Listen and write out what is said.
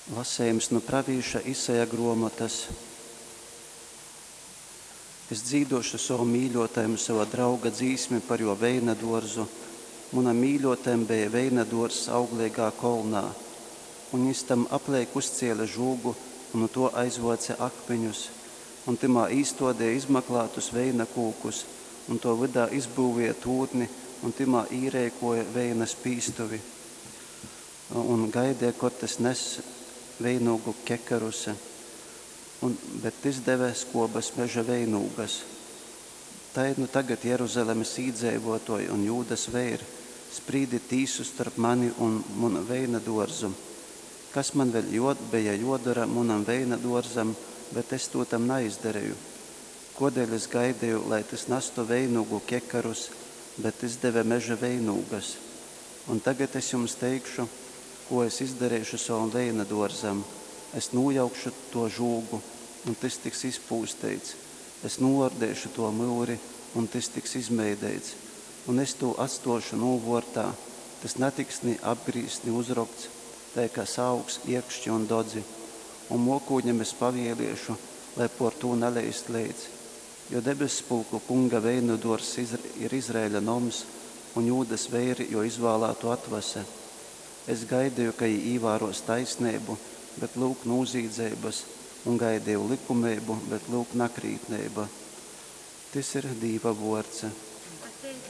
Lasejums nu pravīša Isaja gruomotys. Es dzīduošu sovam mīļuotajam sova drauga dzīsmi par juo veina duorzu. Munam mīļuotajam beja veina duorzs augleigā kolnā. Un jis tam apleik uzciele žūgu un nu tuo aizvuoce akmiņus, un tymā īstuodeja izmaklātus veina kūkus, un tuo vydā izbyuvieja tūrni un tymā īreikuoja veina spīstuvi. Un gaideja, kod tys ness veinūgu kekarus, un, bet tys deve skuobys meža veinūgas. Tai nu tagad Jeruzalemes īdzeivuotuoji un Jūdas veiri, sprīdit tīsu storp mani un munu veina duorzu. Kas man vēļ juo, beja juodora munam veina duorzam, bet es tū tam naizdareju? Kuodēļ es gaideju, lai tys nastu veinūgu kekarus, bet tys deve meža veinūgas? Un tagad es jums teikšu, kū es izdareišu sovam veina duorzam. Es nūjaukšu tuo žūgu, un tys tiks izpūsteits. Es nūordeišu tuo myuri, un tys tiks izmeideits. Un es tū atstuošu nūvuortā, tys natiks ni apgrīzts, ni uzrokts, tai ka saaugs ierkšķi un dodzi. Un muokūņam es pavieliešu, lai puor tū naleist leits. Jo debesspulku Kunga veinuduorzs ir Izraeļa noms, un Jūdas veiri juo izvālātuo atvase. Es gaideju, ka jī īvāruos taisneibu, bet lyuk nūzīdzeibys, un gaideju lykumeibu, bet lyuk nakrītneiba. Tys ir Dīva vuords.